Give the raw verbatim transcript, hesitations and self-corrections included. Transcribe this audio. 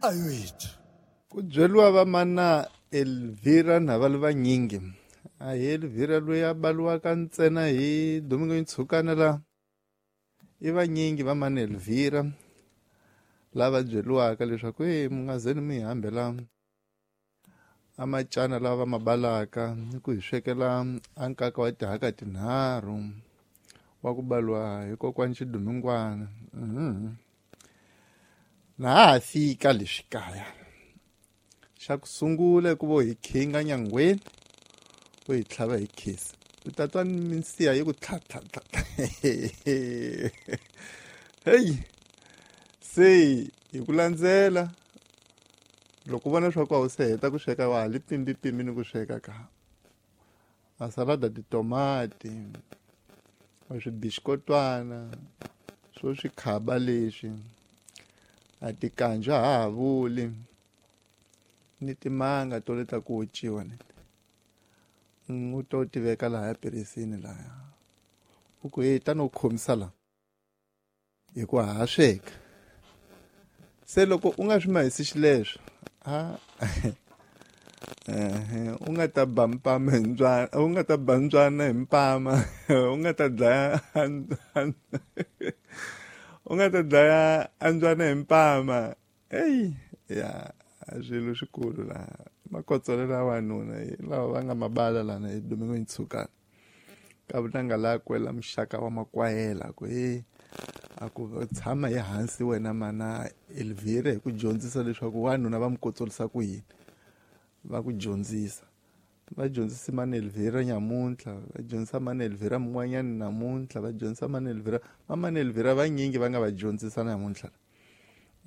Ayoyethu. Ku byeriwa va mana Elvira na va vanyingi. A hi Elvira loyi a baliwaka ntsena hi Domingo Ntshukana la. I vanyingi va mana Elvira lava byeriwaka leswaku e mi nga zeni mi hambela a macana lava ma balaka ni ku hi swekela a nkaka wa tihaka tinharhu wa ku baliwa hi kokwani Xidumingwana. Mhm. Na ha fika leswi kaya. Xa ku sungula ku vo hi khinga nyangweni u hi tlhava hi khisi u ta twa minsiha yi ku tlha tlha tlha. Hey, se hi ku landzela loko u vona leswaku a wu se heta ku sweka wa ha li pimbi ni ku sweka ka a salada titomati swibixikotwana swo swikhaba leswi a tikanjwa ha ha vuli ni timanga to leta ku ociwa ni u to ti veka lahaya perisini lahaya u ku hey tani u khomisa la hi ku ha sweka se loko u nga swi mahisi xileswo a u nga ta ba mpama hi mbyana u nga ta ba mbyana hi mpama u nga ta dlaya u nga ta dlaya ambyana hi mpama. Eyi ya swilo swikulu laha makotsolela wanuna lava va nga mabala lana hi Domingo Ntshukana ka vunanga la kwela muxaka wa makwayela ku e a ku tshama hi hansi wena mana Elvira hi ku dyondzisa leswaku wanuna va mu kotsolisa ku yini va ku dyondzisa va dyondzisa mana Elvira nyamuntlha va dyondzisa mana Elvira mun'wanyana namuntlha va dyondzisa mana Elvira va mana Elvira vanyingi va nga va dyondzisa namuntlha.